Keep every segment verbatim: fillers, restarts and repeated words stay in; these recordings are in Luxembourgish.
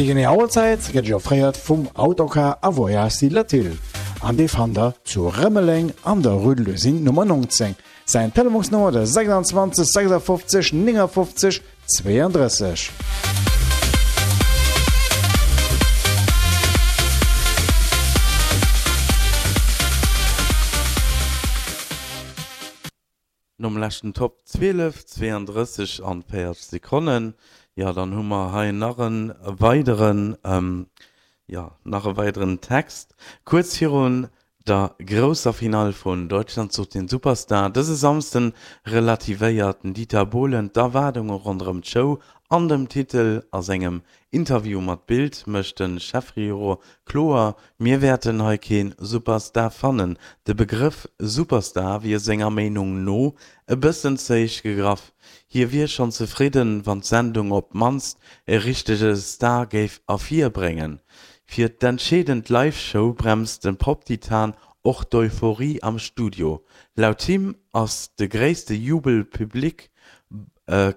Déi genee Auerzäit gëtt iech offréiert vum Autocar a Voyages Latil an dee fannt der zu Rëmeleng an der Rue de l'Usine Nummer neunzéng. Säin Telefonsnummer de sechsundzwanzeg sechsundfünfzig neunundfünfzig zweiunddrësseg. Nom leschten Top zwielef, zweeëndrësseg an véierzeg Sekonnen, jo, dann hu mer hei nach e weideren, jo, nach e weideren Text. Kuerz virun der grousser Finall vun Deutschland sucht den Superstar dëse Samsden relativéiert den Dieter Bohlen d'Erwaardunge ronderëm d'Show an dem Titel. A sengem Interview mat Bild mécht de Chefjuror kloer, Mir wäerten hei kee Superstar fannen. De Begrëff Superstar wier senger Meenung no e bëssen ze héich gegraff. Hie wier schonn zefridden, wann d'Sendung op d'mannst e richtege Star géif ervirbréngen. Fir d'entscheedend Live-Show bremst de Pop-Titan och d'Euphorie am Studio. Laut him ass de gréisste Jubel public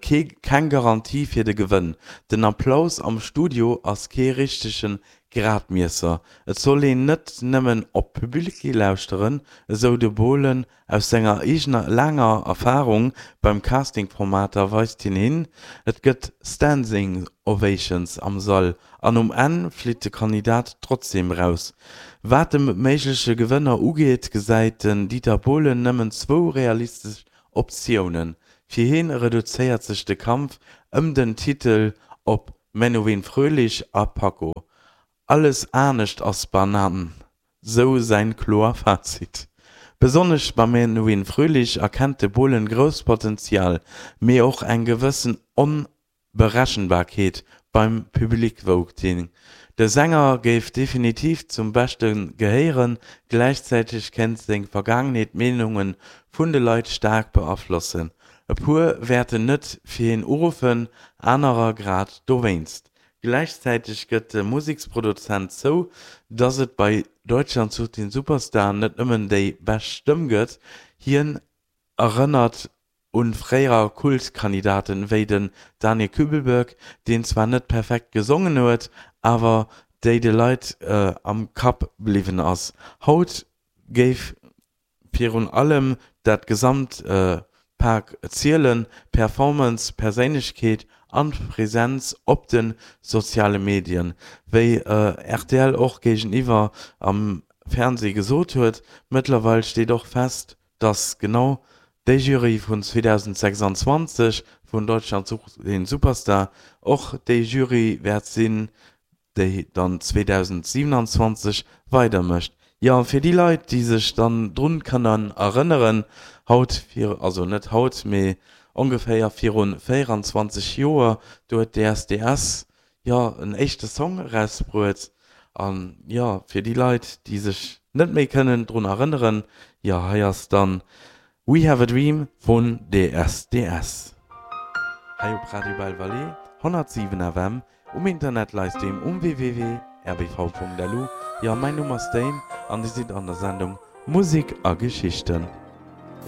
keng Garantie fir de Gewënn. Den Applaus am Studio ass kee richtege Gradmiesser. Et soll een net nëmmen op d'Public lauschteren, esou de Bohlen. Aus senger eegener laanger Erfarung beim Casting-Formater weist hien hin, Et gëtt Standing Ovations am Sall an um Enn flitt de Kandidat trotzdeem eraus. Wat de méigleche Gewënner ugeet, gesäit den Dieter Bohlen nëmmen zwou realistesch Optiounen. Fir hien reduzéiert sech de Kampf ëm den Titel op Menowin Fröhlich a Paco. Alles anescht ass Banann, sou säin kloer Fazit. Besonnesch beim Menowin Fröhlich erkennt de Bohlen grousst Potenzial, mee och eng gewëssen Onberechenbarkeet beim Public-Voting. De Sänger géif definitiv zum Beschte gehéieren, gläichzäiteg kéint seng Vergaangenheet d'Meenunge vun de Leit staark beaflossen. E puer wäerten net fir hien uruffen, anerer grad dowéinst. Gläichzäiteg gëtt de Museksproduzent zou, datt et bei Deutschland sucht den Superstar net nëmmen déi bescht Stëmm gëtt. Hien erënnert u fréier Kultkandidaten wéi den Daniel Küblböck, deen zwar net perfekt gesongen huet, awer déi de Leit am Kapp bliwwen ass. Haut géif virun allem dat gesamt Pak zielen, Performance, Perséinlechkeet an Presenz op de soziale Medien. Wéi rtl och géigeniwwer am Fernsee gesot huet, mëttlerweil steet och fest, dass genau déi Jury vun zweedausendsechsundzwanzeg vun Deutschland sucht den Superstar och déi Jury wäert sinn, déi dann zweedausendsiewenundzwanzeg weidermécht. Jo, fir déi Leit, déi sech dann drun kënnen erënneren, haut vir, also net haut, mee ongeféier virun véieranzwanzeg Joer, do huet D S D S jo en éischte Song erausbruet. An jo, fir déi Leit, déi sech net méi kënnen drun erënneren, jo, hei ass dann We Have a Dream vun D S D S. Hei op Radio Belle Vallée, honnertsiwen F M, um Internet Livestream um W W W Punkt R B V Punkt L U. Jo, mäin Numm ass Dane an Dir sidd an der Sendung Musik a Geschichten.